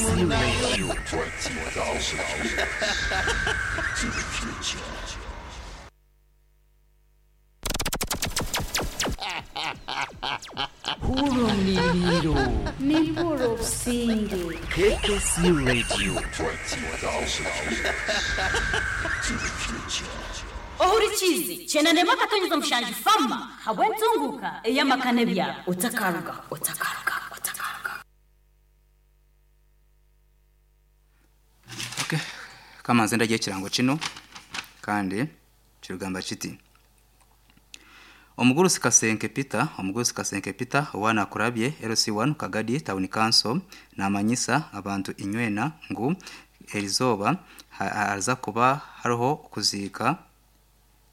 KKC Radio. 20,000 years to the future. Hurumniriro. Nibura obusinge. KKC Radio. 20,000 years to the future. Ohurikizi chenanema katonyeza mushanju fama habwentunguka eyamakane bya otakaruga otakaruga otakaruga. Okay. Kama nze ndagiye ekirango kino kandi kirugamba kiti omugurusi Kasenke Peter, omugurusi Kasenke Peter owana akurabye LC1 Kagadi Town Council namanyisa abantu inywena ngu erizoba haza kuba hariho kuziika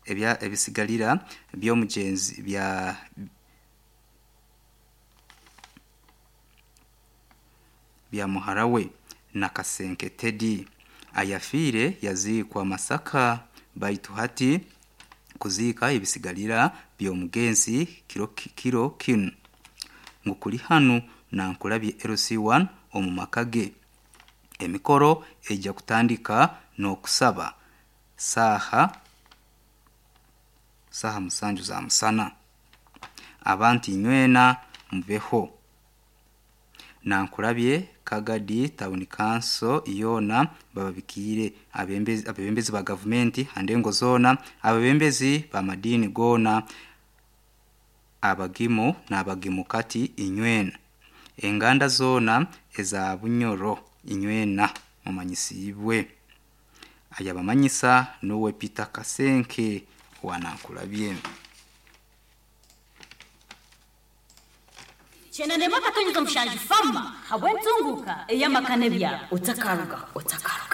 ebya ebisigalira by'omugenzi bya bya muhara we na Kasenke Teddy ayafiire yaziikwa Masaka baitu hati kuziika ebisigalira by'omugenzi kiro kiro kinu ngu kuli hanu nankulabye LC1 omu maka ge. Emikoro ejja kutandika n'okusaba saaha 7 za musana. Abantu inywena mubeho. Nankulabye Kagadi Town Council yona bababikiire abebembezi ba gavumenti andengo zona, abebembezi ba madini gona, abagimu n'abagimukati inywena, enganda zona eza Bunyoro inywena mumanyisibwe. Ayabamanyisa nuwe Peter Kasenke wanankulabye. Chenanema katonyeza mushanju fama habwentunguka eyamakane bya otakaruga otakaruga.